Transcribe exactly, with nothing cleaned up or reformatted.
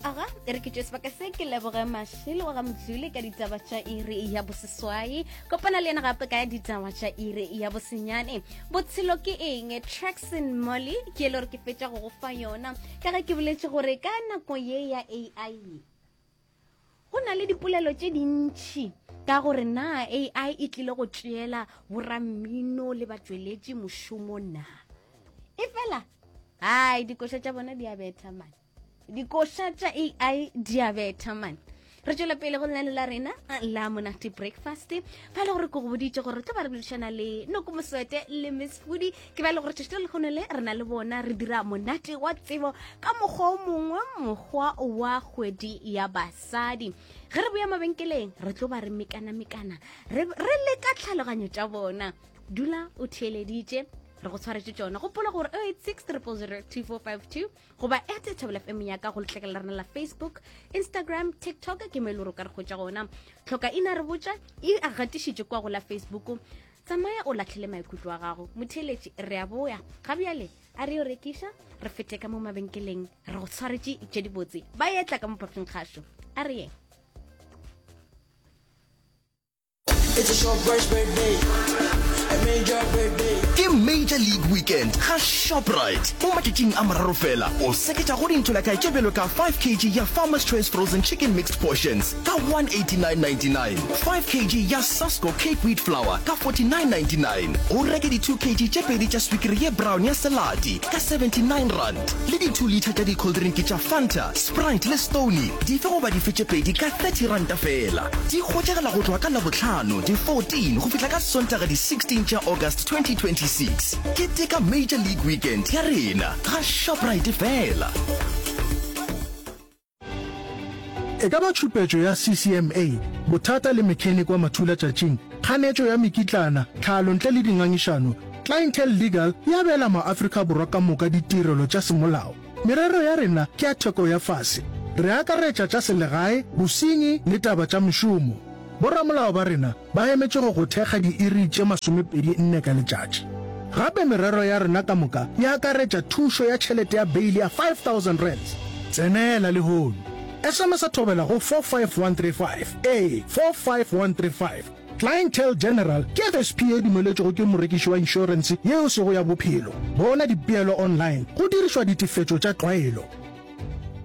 Aga, e re ke tšwe sebaka se ke leboge Mašele wa ga Mdluli ka ditaba tša iri ya boseswai. Kopana le yena gape ka ditaba tša iri ya bosenyane. Botshelo ke eng? Traxon Molly ke e le gore ke fetša go go fa yona. Ka ge ke boletše gore ka nako ye ya A I go na le dipolelo tše dintšhi ka gore na A I e tlile go tšeela borammino le batšweletši mošomo na. E fela, ai, dikoša tša bona di a betha man. Dikoša tša A I di a betha man. Re tšwela pele go lenane la rena la Monate Breakfast, fa e le gore ke go boditše gore re tlo ba re boledišana le Noko Moswete le Miss Foodie. Ke ba e le gore tšatši le lekgono le re na le bona, re dira monate wa tsebo ka mokgwa o mongwe, mokgwa wa kgwedi ya basadi. Ge re boya mabenkeleng, re tlo ba re mekana-mekana, re re leka tlhaloganyo tša bona. Dula o theeleditše, re go tshwaretše tšona. Gopola gore zero eight six zero zero two four five two goba at Thobela F M ya ka go letlakela la rena la Facebook, Instagram, TikTok ke mo e le gore o ka re hwetša gona. Tlhoka ina re botša e a gatišitše kwa go la Facebook. Tsamaya o latlhele maikutlo a gago, motheeletši. Re a boya ga bjale, a re yo rekiša, re fete ka mo mabenkeleng, re go tshwaretše tše dibotse. Ba etla ka mo phatleng kgašo, a re yeng. It's a Shoprite birthday. A major birthday. Ke Major League Weekend ga Shoprite. Mo matšatšing a mararo fela, o seketša go dintho la kae tše bjalo ka five kilograms ya Farmer's Choice frozen chicken mixed portions ka one eighty-nine ninety-nine, five kilograms ya Sasko cake wheat flour ka forty-nine ninety-nine, o reke di two kilograms tše pedi tša swikiri ye brown ya selati ka seventy-nine rand, le di two litre tša di-cold drink tša Fanta, Sprite le Stoney dife goba dife tše pedi ka thirty ranta fela. Di hwetšagala go tloga ka Labohlano di fourteen go fihla ka Sontaga di sixteen tša August twenty twenty-six. Keteka Major League Weekend ya rena ga Shoprite fela. E ka ba tšhupetšo ya C C M A, bothata le mechanic wa mathulatšatšing, kganetšo ya mekitlana, tlhalo ntle le dingangišano, Clientele Legal e abela maAfrika Borwa ka moka ditirelo tša semolao. Merero ya rena ke ya theko ya fase. Re akaretša tša selegae, bosenyi le taba tša mešomo. Boramolao ba rena ba emetše go go thekga diiri tše masomepedi nne ka letšatši. Gape merero ya rena ka moka e akaretša thušo ya tšhelete ya beile ya five thousand rands. Tsenela lehono. S M S a thobela go four five one three five. Ee, four five one three five. Clientele General ke F S P e dumeletšwego ke morekiši wa inšorense yeo sego ya bophelo. Bona dipeelo online go dirišwa ditefetšo tša tlwaelo.